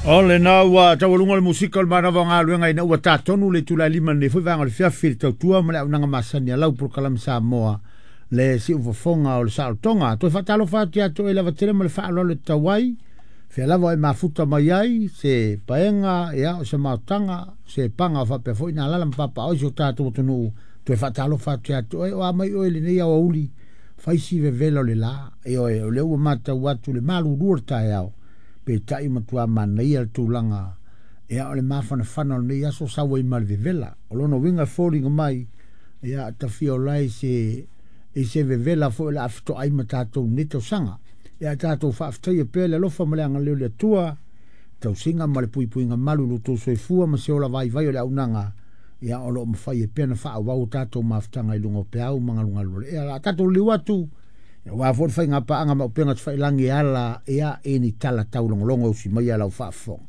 O lena ua taualuga le musika o le manava o galuega ina ua tatonu le itula e 5 i lenei foi vaega o le fiafi i le tautua ma le auaunaga masani a lau polokalame Samoa le siufofoga o le saolotoga. Toe faatalofa atu ia te oe lava tele ma le faaaloalo e tatau ai, fea lava o e mafuta mai ai, se paega, ia, o se maotaga, se paga o faapea foi na alaala ma papaaao i si o tatou atunuu. Toe faatalofa atu ia te oe, o a mai oe i lenei aoauli, fai si vevela o le la, ioe, o lea ua matau atu le malulu o le taeao, peitai matua manaia le tulaga, ia, o le mafanafana o lenei aso sau ai ma le vevela. O lona uiga e foliga mai, ia, tafia ola ai se i se vevela foi o le a fetoai ma tatou i lenei tausaga. Ia tatou faafetaia pea le alofa ma le agalelei o le Atua, tausiga ma le puipuiga malu i lo outou soifua ma se ola vaivai o le auaunaga, ia o lo o mafai ai pea ona faaauau o tatou mafutaga i luga o peau ma galugalu o le ea. O le a tatou liliu atu, aua foi le faiga paaga ma upega tafailagi e ala, ia, i ni tala taulogologo e usi mai a lau faafofoga.